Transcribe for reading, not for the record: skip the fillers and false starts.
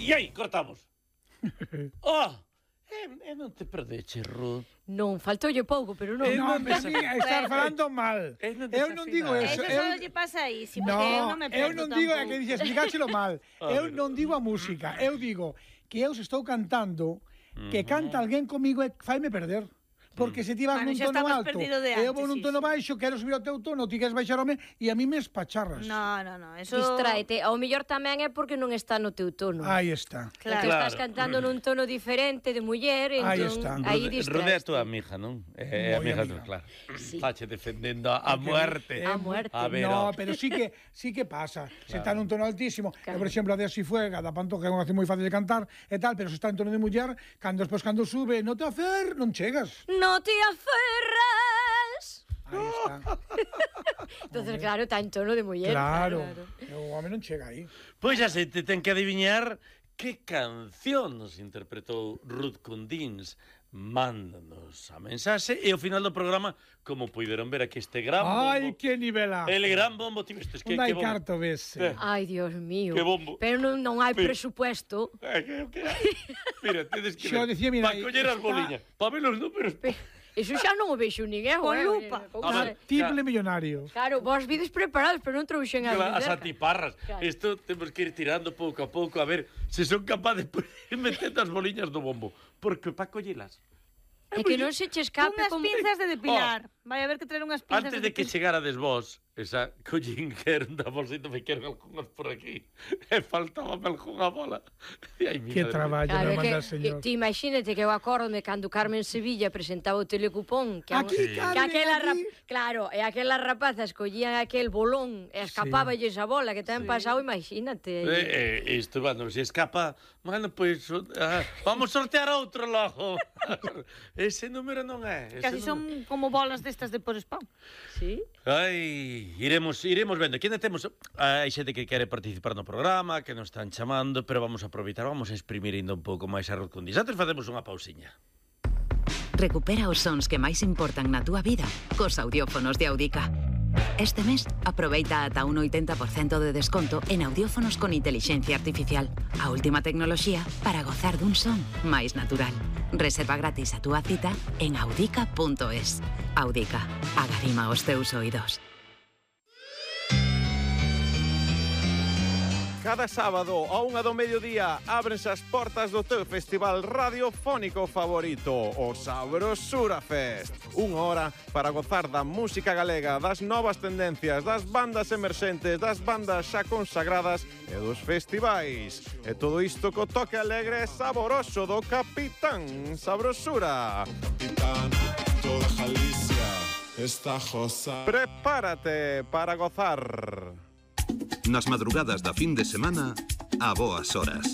E aí, cortamos. Non te perdeche, Ruth. Non, faltoulle pouco, pero non. Non, estar falando mal. Eu non digo eso. Eso só lle pasa aí, porque eu non me eu perdo non digo tampouco. que dices, explicáchelo mal. Eu non digo a música. Eu digo que eu se estou cantando, que canta alguén comigo e faime perder. Porque se ti vas nun tono alto, eu vou nun tono baixo, quero subir ao teu tono, ti queres baixarme e a mí me espacharras. No, eso... Distráete. Ao mellor tamén é porque non está no teu tono. Aí está. Claro. Que estás cantando nun tono diferente de muller, Aí entón está. aí Rude é a distraes. tua amiga, non? É a amiga tua, claro. Fache defendendo a muerte. A muerte. A ver, No, pero sí que pasa. Se está nun tono altísimo, por exemplo, a de Así Fuega, da Pantoja, é unha canción moi fácil de cantar e tal, pero se está en tono de muller, cando sube, no te afer, non chegas. No te aferres. Aí está. Entonces, claro, está en tono de muller. Claro. O home non chega aí. Pois xa se te ten que adiviñar que canción nos interpretou Ruth Cundins. Mándanos a mensaxe e ao final do programa, como puideron ver aquí este gran bombo. Ai, que nivelazo. El gran bombo, ti vestes que Un bombo. carto vese. Ai, Dios mío. Que bombo. Pero non hai presupuesto. Que mira, tedes que Xo ver. dicía, mira, Pa coller as boliñas, pa ver os números. Eso xa non o vexo ninguén. Con lupa. Triple millonario. Claro, vos vides preparados, pero non trouxen a As cerca. antiparras. Claro. Isto temos que ir tirando pouco a pouco a ver se son capaces de meter as boliñas do bombo. Porque pa collelas. É que non se che escape Unhas como... pinzas de depilar. Vai haber que traer unhas pinzas Antes de de que depilar. chegárades vos, esa collín que era da bolsita me quero algunhas por aquí. E faltaba algunha bola. E ai, Que traballo Claro, me é que, manda, señor. ti imagínate que eu acórdome cando Carmen Sevilla presentaba o telecupón que, Aquí, que Carmen, aquela aquí. Claro, e aquelas rapazas collían aquel bolón e escapáballes a bola que ten pasado, imagínate. Isto, bueno, se escapa, bueno, pois vamos sortear outro logo. Ese número non é. Casi son como bolas destas de por spam. Sí? Ai, iremos vendo. Aquí ainda temos hai xente que quere participar no programa, que nos están chamando, pero vamos a aproveitar, vamos a exprimir ainda un pouco máis a Ruth Cundins. Antes facemos unha pausiña. Recupera os sons que máis importan na túa vida cos audiófonos de Audica. Este mes, aproveita ata un 80% de desconto en audiófonos con inteligencia artificial. A última tecnoloxía para gozar dun son máis natural. Reserva gratis a túa cita en audica.es. Audica. Agarima os teus oídos. Cada sábado a 1 do mediodía ábrense as portas do teu festival radiofónico favorito, o Sabrosura Fest. 1 hora para gozar da música galega, das novas tendencias, das bandas emerxentes, das bandas xa consagradas e dos festivais. E todo isto co toque alegre e saboroso do Capitán Sabrosura. Capitán, toda Galicia está josa. Prepárate para gozar. Nas madrugadas da fin de semana, a boas horas.